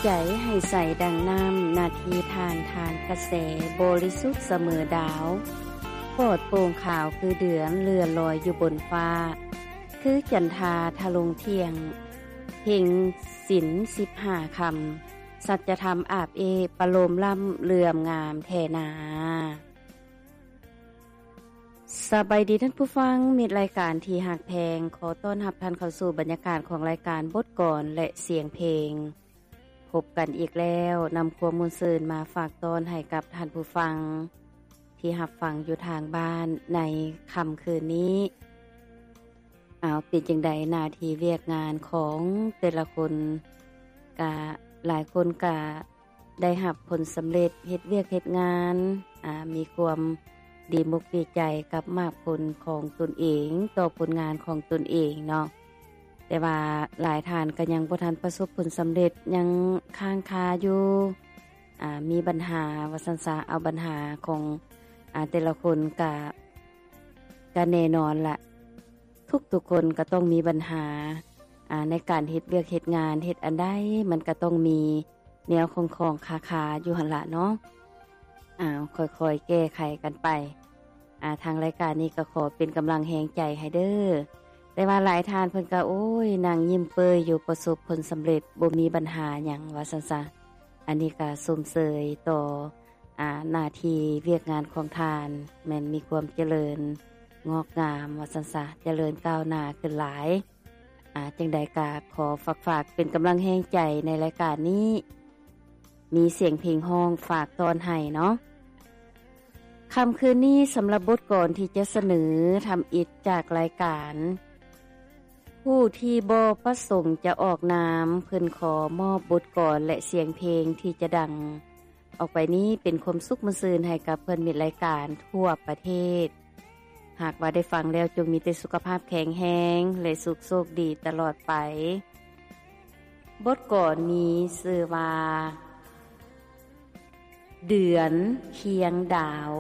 ໃຈໃຫ້ໃສດັ່ງນ້ຳ ນາທີທ່ານ ທານກະແສ ບໍລິສຸດສະເໝີດາວ ປອດໂປ່ງຂາວຄືເດືອນ ເລື່ອນລອຍຢູ່ບົນຟ້າ ຄືຈັນທາທະລົງທ່ຽງ ເພັງສິນສິບຫ້າຄ່ຳ ສັດຈະທຳອາບເອບ ປະໂລມລ້ຳເຫຼື່ອມງາມແທ້ນາ. ສະບາຍດີທ່ານຜູ້ຟັງ ມິດລາຍການທີ່ຮັກແພງ, ຂໍຕ້ອນຮັບທ່ານເຂົ້າສູ່ບັນຍາກາດຂອງລາຍການບົດກອນ ແລະ ສຽງເພງ. ພົບກັນອີກແລ້ວ, ນຳຄວາມມ່ວນຊື່ນມາຝາກຕ້ອນໃຫ້ກັບທ່ານຜູ້ຟັງ ທີ່ຮັບຟັງຢູ່ທາງບ້ານໃນຄ່ຳຄືນນີ້. ເອົາ ເປັນຈັ່ງໃດ ໜ້າທີ່ວຽກງານຂອງແຕ່ລະຄົນ ກະ ຫຼາຍຄົນກະ ໄດ້ຮັບຜົນສຳເລັດ ເຮັດວຽກເຮັດງານ ອາ ມີຄວາມດີມຸກດີໃຈກັບໝາກຜົນຂອງຕົນເອງ ຕໍ່ຜົນງານຂອງຕົນເອງເນາະ. ແຕ່ວ່າຫຼາຍທ່ານກໍຍັງບໍ່ທັນປະສົບຜົນສຳເລັດ ຍັງຄ້າງຄາຢູ່ ອາ ມີບັນຫາວ່າຊັ້ນຊະ. ເອົາ ບັນຫາຂອງ ອາ ແຕ່ລະຄົນກະ ກະແນ່ນອນລະ ທຸກໆຄົນກໍຕ້ອງມີບັນຫາ ອາ ໃນການເຮັດວຽກເຮັດງານ ເຮັດອັນໃດມັນກໍຕ້ອງມີແນວຂ້ອງໆຄາໆຢູ່ຫັ້ນລະເນາະ. ເອົາ ຄ່ອຍໆແກ້ໄຂກັນໄປ. ອາ ທາງລາຍການນີ້ກໍຂໍເປັນກຳລັງແຮງໃຈໃຫ້ເດີ້. ແຕ່ວ່າຫຼາຍທ່ານເພິ່ນກໍ ໂອ້ຍ ນັ່ງຍິ້ມເປີ້ຍຢູ່ ປະສົບຜົນສຳເລັດ ບໍ່ມີບັນຫາຫຍັງວ່າຊັ້ນຊະ. ອັນນີ້ກໍຊົມເຊີຍຕໍ່ ອາ ໜ້າທີ່ວຽກງານຂອງທ່ານ ແມ່ນມີຄວາມຈະເລີນງອກງາມວ່າຊັ້ນຊະ ຈະເລີນກ້າວໜ້າຂຶ້ນຫຼາຍ. ອາ ຈັ່ງໃດກໍຂໍຝາກ ຝາກເປັນກຳລັງແຮງໃຈໃນລາຍການນີ້ ມີສຽງເພງຮ້ອງຝາກຕ້ອນໃຫ້ເນາະ. ຄ່ຳຄືນນີ້ ສຳລັບບົດກອນທີ່ຈະສະເໜີທຳອິດຈາກລາຍການ ຜູ້ທີ່ບໍ່ປະສົງຈະອອກນາມ ເພິ່ນຂໍມອບບົດກອນ ແລະ ສຽງເພງທີ່ຈະດັງອອກໄປນີ້ ເປັນຄວາມສຸກມ່ວນຊື່ນໃຫ້ກັບເພື່ອນມິດລາຍການທົ່ວປະເທດ. ຫາກວ່າໄດ້ຟັງແລ້ວ ຈົ່ງມີແຕ່ສຸຂະພາບແຂງແຮງ ແລະ ສຸກໂຊກດີຕະຫຼອດໄປ. ບົດກອນມີຊື່ວ່າ ເດືອນຄຽງດາວ.